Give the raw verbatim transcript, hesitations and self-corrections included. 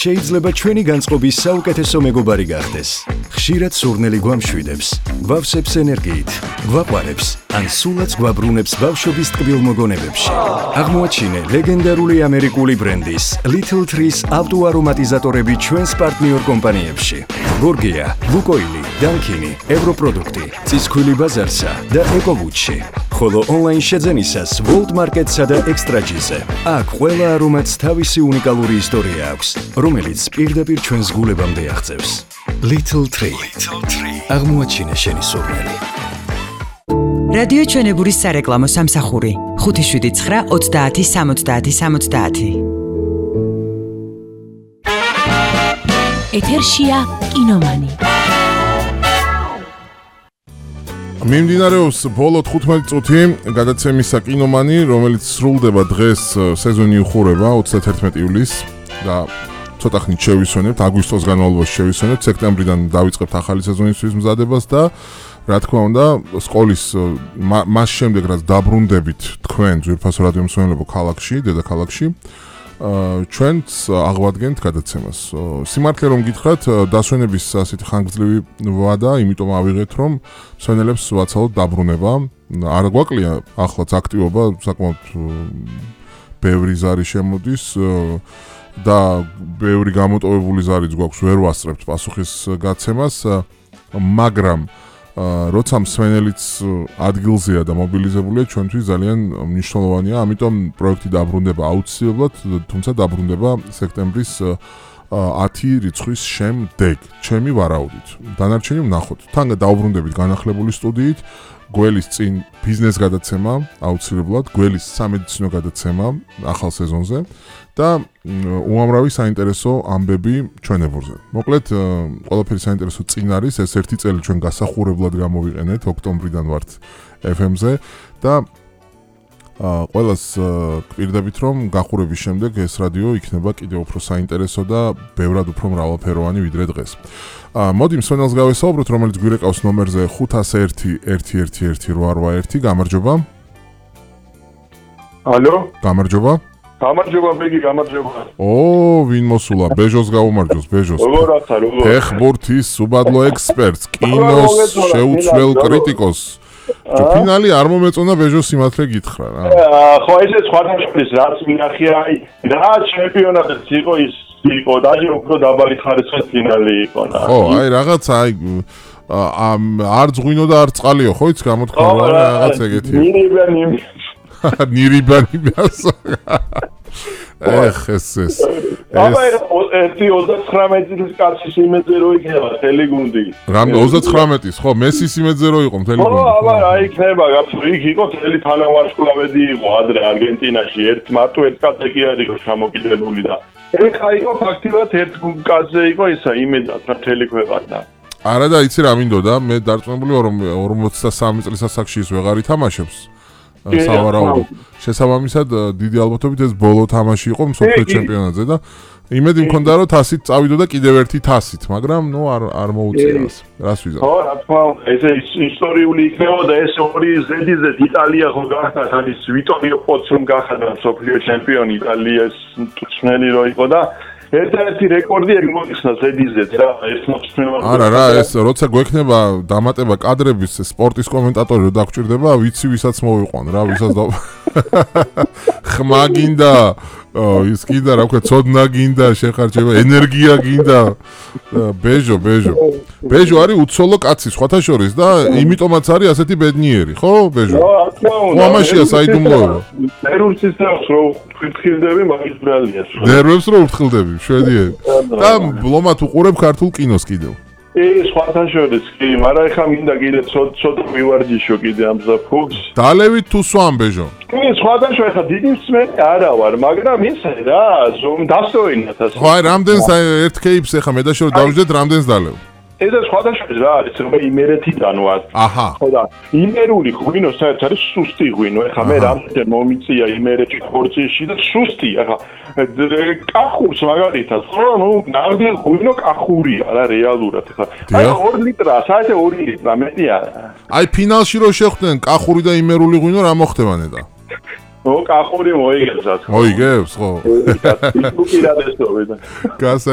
შეიძლება ჩვენი განწყობის საუკეთესო მეგობარი გახდეს. ხშირად სურნელი გვამშვიდებს, გვავსებს ენერგიით, გვაყვარებს, ან სულაც გვაბრუნებს ბავშვობის ტკბილ მოგონებებში. აღმოაჩინე ლეგენდარული ამერიკული ბრენდის Little Trees ავტოარომატიზატორები ჩვენს პარტნიორ კომპანიებში. გორგია, ლუკოილი, დანკინი, ევროპროდუქტი, წისქვილი ბაზარსა და ეკოვუჩში. ხოლო ონლაინ შეძენისას World Market-სა და Extra-G-ზე. აქ ყველა არომატს თავისი უნიკალური ისტორია აქვს, რომელიც პირდაპირ ჩვენს გულებამდე აღწევს. Little Tree. აღმოაჩინე შენი სურნელი. რადიო ჩვენებურის სარეკლამო სამსახური ხუთი შვიდი ცხრა ოცდაათი სამოცდაათი სამოცდაათი. ეთერშია კინომანი. მიმდინარეობს ბოლო თხუთმეტი წუთი გადაცემისა კინომანი, რომელიც სრულდება დღეს, სეზონი უხურება ოცდათერთმეტი ივლისს და ცოტა ხნით შევისვენებთ, აგვისტოს განმავლობაში შევისვენებთ, სექტემბრიდან დავიწყებთ ახალი სეზონისთვის მზადებას და რა თქმა უნდა, სკოლის მას შემდეგ რაც დაბრუნდებით თქვენ ძვირფასო რადიო მსმენელებო ქალაქში, დედაქალაქში, ჩვენც აღვადგენთ გადაცემას. სიმართლე რომ გითხრათ, დასვენების ასეთი ხანგრძლივი ვადა, იმიტომ ავიღეთ, რომ მსმენელებს ვაცალოთ დაბრუნება. არ გვაკლია ახლაც აქტივობა, საკმაოდ ბევრი ზარი შემოდის და ბევრი გამოტოვებული ზარიც გვაქვს, ვერ ვასწრებთ პასუხის გაცემას, მაგრამ როცა მსმენელიც ადგილზეა და მობილიზებულია, ჩვენთვის ძალიან მნიშვნელოვანია, ამიტომ პროექტი დაბრუნდება აუცილებლად, თუმცა დაბრუნდება სექტემბრის ათი რიცხვის შემდეგ, ჩემი ვარაუდით. დანარჩენი ვნახოთ. თან დაუბრუნდებით განახლებული სტუდიით, გველის წინ ბიზნეს გადაცემა, აუცილებლად, გველის სამედიცინო გადაცემა ახალ სეზონზე და უამრავი საინტერესო ამბები ჩვენებურზე. მოკლედ, ყველაფერი საინტერესო წინ არის, ეს ერთი წელი ჩვენ გასახურებლად გამოვიყენეთ, ოქტომბრიდან ვართ ეფ ემ-ზე და ყველას გვპირდებით, რომ გახურების შემდეგ ეს რადიო იქნება კიდევ უფრო საინტერესო და ბევრად უფრო მრავალფეროვანი ვიდრე დღეს. მოდი მსმენელს გავესაუბროთ, რომელიც გვირეკავს ნომერზე ხუთას ერთი ერთი ერთი ერთი რვა რვა ერთი. გამარჯობა. ალო? გამარჯობა. გამარჯობა, მეგი, გამარჯობა. ო, ვინ მოსულა? ბეჟოს გაუმარჯოს, ბეჟოს. როგორ ახლა, როგორ? ფეხბურთის უბადლო ექსპერტს, კინოს შეუცვლელ კრიტიკოს. ფინალი არ მომეწონა ბეჟოს სიმართლე გითხრა რა. ხო, ესე სხვადასხვის რაც მინახია, რა ჩემპიონატიც იყო ის იყო, დაჟე უფრო დაბალი ხარისხის ფინალი იყო რა. ხო, აი რაღაც აი არ ძღვინო და არ წყალიო, ხო იც გამოთქვა რაღაც ეგეთი. ნირიბანი ნირიბანი მასა. ეხ ეს ეს. აბა ერთი ოცდათხრამეტი წლის კაცის იმედზე რო იქნება მთელი გუნდი. რამე ოცდათხრამეტის, ხო, მესის იმედზე რო იყო მთელი გუნდი. ხო, აბა რა იქნება, იქ იყო მთელი თანავარსკვლავედი იყო ადრე არგენტინაში, ერთ მარტო ერთ კაცზე კი არ იყო ჩამოკიდებული და ეხა იყო ფაქტიურად ერთ კაცზე იყო ისა იმედად მთელი ქვეყანა. არა და იცი რა მინდოდა, მე დარწმუნებული ვარ, რომ ორმოცდასამი წლის ასაკში ის ვეღარ ითამაშებს. სავარაუდო. შესაბამისად, დიდი ალბათობით ეს ბოლო თამაში იყო მსოფლიო ჩემპიონატზე და იმედი მქონდა, რომ თასით წავიდოდა კიდევ ერთი თასით, მაგრამ ნუ არ არ მოუწიეს. რას ვიზავ? ხო, რა თქმა უნდა, ესე ისტორიული იქნებოდა ეს ორი ზედიზედ იტალია ხო გახდა, ის ვიტორიო პოცუმ გახდა მსოფლიო ჩემპიონი იტალიის მწვრთნელი რო იყო და ერთ-ერთი რეკორდი ეგ მოიხსნა ზედიზედ რა, ეს მოწმევა. არა რა, ეს როცა გვექნება დამატება კადრების სპორტის კომენტატორი რო დაგჭირდება, ვიცი ვისაც მოვიყვან რა, ვისაც და ხმა გინდა, ის კიდე რა ვქო, ცოდნა გინდა, შეხარჯება, ენერგია გინდა. ბეჟო, ბეჟო. ბეჟო არის უცოლო კაცი სხვათა შორის და იმიტომაც არის ასეთი ბედნიერი, ხო, ბეჟო? ხო, რა თქმა უნდა. ამაშია საიდუმლოება. ნერვებს რო ვფრთხილდები, მაგის ბრალია. ნერვებს რო ვფრთხილდები, შვედიერი. და ბლომად უყურებ ქართულ კინოს კიდევ. ეს სხვათა შორის კი, მაგრამ ეხა მინდა კიდე ცოტა მივარჯიშო კიდე ამ ზაფხულს. დალევით თუ სვამ ბეჟო? კი, სხვათა შორის ხა დიდი მსმენელი არა ვარ, მაგრამ ისე რა, ზომ დასწოინათ ასე. ხო, აი რამდენს ერთ კეიპს ეხა მე და შორო დავждეთ რამდენს დალევ. ეს სხვათა შორის რა არის, რომ იმერეთიდან ვარ. აჰა. ხო და იმერული ღვინო საერთოდ არის სუსტი ღვინო. ეხა მე რამდენ მომიწია იმერეთში ხორცში და სუსტი, ეხა კახურს მაგალითად, ხო, ნუ ნამდვილ ღვინო კახურია რა რეალურად ეხა. აი ორი ლიტრა, საერთოდ ორი ლიტრა მეტი არა. აი ფინალში რო შეხვდნენ კახური და იმერული ღვინო რა მოხდება ნედა? ო, კახური მოიგებს რა თქმა უნდა. მოიგებს, ხო? უპირატესობა. გასა